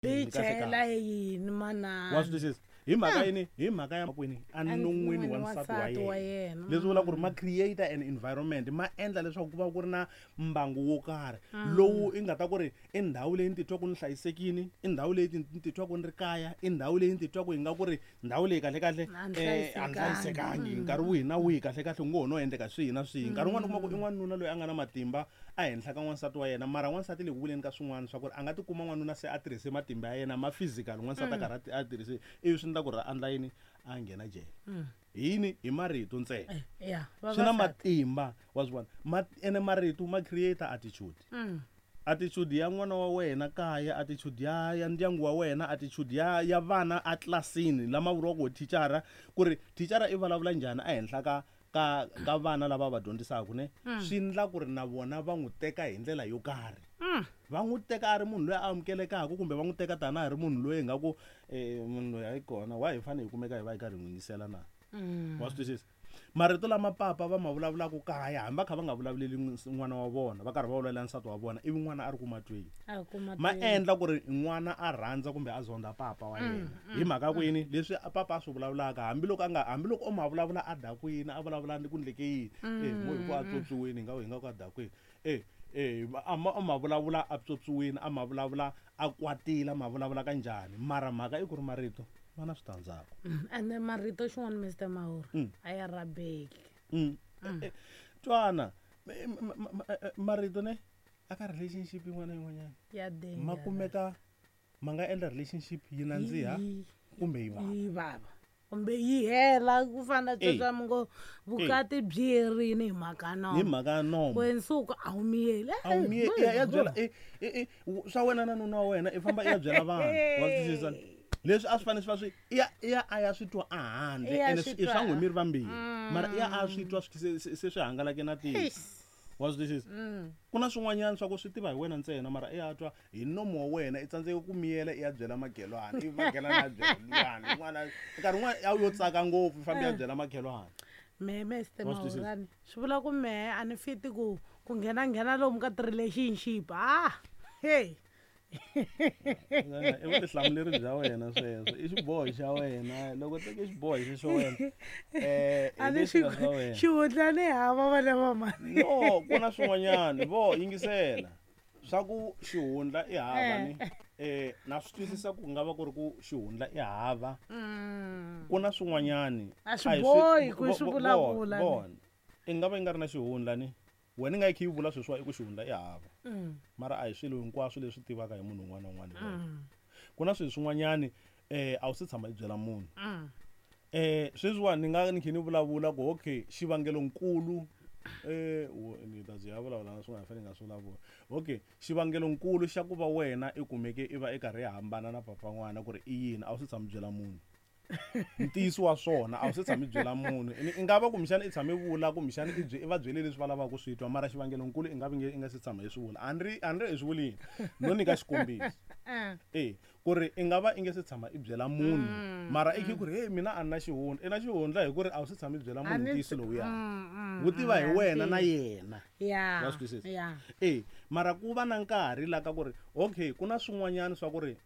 Yi Kahle chela kahle. yini manana Wa swi twisisa? Hi mhaka yini? Hi mhaka ya kwini? Enon'wini wa nsati wa wa yena. yena. Leswi vulaka ku ri ma create an environment, ma endla leswaku ku va ku ri na mbangu wo karhi lowu i nga ta ku ri i ndhawu leyi ni titwaku ni hlayisekile, i ndhawu leyi ni titwaku ni ri kaya, i ndhawu leyi ni titwaku yi nga ku ri ndhawu leyi kahlekahle A ni a ni hlayisekangi. hlayisekangi. Nkarhi wihi na wihi kahlekahle ku ngo ho no endleka swihi na swihi. Nkarhi wun'wani u kuma ku i n'wanuna loyi a nga na matimba ehenhla ka n'wansati wa yena, mara n'wansati le ku vuleni ka swin'wana swa ku ri a nga tikuma n'wanuna se a tirhise matimba ya yena ma physical, n'wansati a karhi a tirhise, ivi swi endla ku ri a endla yini? A nghena jele. Hi yini? Hi marito ntsena. Ya, Swi na vavasati. matimba, wa swi vona. Ene marito ma create attitude. Attitude ya n'wana wa wena kaya, attitude ya ndyangu wa wena, attitude ya vana a tlilasini lama vuriwaka ku thicara, ku ri thicara i vulavula njhani ehenhla ka vana lava va dyondzisaka, ne? Swi endla ku ri na vona va n'wi teka hi ndlela yo karhi. Va n'wi teka a ri munhu loyi a amukelekaka, kumbe va n'wi teka tanihi ri munhu loyi nga ku, munhu loyi a yi kona, why hi fanele hi kumeka hi va hi karhi hi n'wi yingisela na? Wa swi twisisa? Marito lama papa va ma vulavulaka kaya, hambi va kha va nga vulavuleli n'wana wa vona, va karhi va vulavula nsati wa vona, ivi n'wana a ri ku matweni. A ri ku matweni. Ma endla ku ri n'wana a rhandza kumbe a zonda papa wa yena. Hi mhaka ku yini? Leswi papa a swi vulavulaka, hambiloko a nga, hambiloko o ma vulavula a dakwini, a vulavula ni ku ndleke yini? Mo hi ku a tswotswiwini, hi nga ku a dakwini. A ma, a ma vulavula a tswotswiwini, a ma vulavula a kwatile, a ma vulavula ka njhani? Mara mhaka i ku ri marito ma na switandzhaku. Ene marito xin'wana, Mister Mahuru, a ya rabeki. Twana, marito ne aka relationship yin'wana na yin'wanyana. Ya danger. Ma kumeka ma nga endla relationship yi nandziha kumbe yi vava. Yi vava. Kumbe yi hela ku fana na sweswo mi ngo vukati byi herini hi mhaka nomo. Hi mhaka nomo. Ku nsuku a wu miyeli. A wu miyeli. Ya, ya byela, swa wena na nuna wa wena i famba i ya byela vanhu. Wa swi twisisa? Leswi a swi fanele swi va swi, i ya, i ya a ya swi twa a handle, I ya ene swi i swa twa. n'wi miri vambirhi. Mara i ya a swi twa swi se swi hangalake na tiko. Eish. Wa swi twisisa? Ku na swin'wanyana swa ku swi tiva hi wena ntsena, mara i ya twa hi nomo wa wena, i tsandzeke ku miyela, i ya byela makhelwani, ivi makhelwani a byela luyani, un'wana a-, nkarhi wun'wana a yo tsaka ngopfu, i famba i ya byela makhelwani. Mehe, Mister Wa swi twisisa? Mahurani, swi vula ku mehe a ni fiti ku nghena nghena lomu ka ti-relationship. Hey. I vutihlamuleri bya wena sweswo, i xiboho xa wena. Loko teke xiboho xexo wena, A hi ni leswi nga swi swa wena. xihundla ni hava vana va mhani. No, ku na swin'wanyana. Vo yingisela. Swa ku xihundla i hava ni. Na swi twisisa ku nga va ku ri ku xihundla i hava. Ku na swin'wanyani. A swi A hi swi bohi ku swi vulavula ni. vona. I nga va yi nga ri na xihundla ni. Wena i nga yi kha yi vula sweswiwa i ku xihundla i hava. Mara a hi swilo hinkwaswo leswi tivaka hi munhu un'wana na un'wana. Ku na swilo swin'wanyani, a wu se tshama i byela munhu. Sweswiwani ni nga ni kha ni vulavula ku okay, xivangelonkulu, ni ta byi ya vulavula na swin'wana ni fanele ni nga swi vulavula. Okay, xivangelonkulu xa ku va wena i kumeke i va i karhi i hambana na papa n'wana ku ri i yini, a wu se tshama i byela munhu. Ntiyiso wa swona a wu se tshama i byela munhu. I nga va kumbexana i tshame vula, kumbexana i i va byele leswi va lavaka ku swi twa, mara xivangelonkulu i nga vi nge i nga se tshama i swi vula. A ni ri, a ni ri i swi vulile. No nyika xikombiso. Ku ri i nga va i nge se tshama i byela munhu, mara i khe ku ri, hey, mina a ni na xihundla. I na xihundla hi ku ri a wu se tshama i byela munhu A ni ntiyiso lowuya. Wu tiva hi wena na yena. Wa swi twisisa? Mara ku va na nkarhi la ka ku ri, okay, ku na swin'wanyana swa ku ri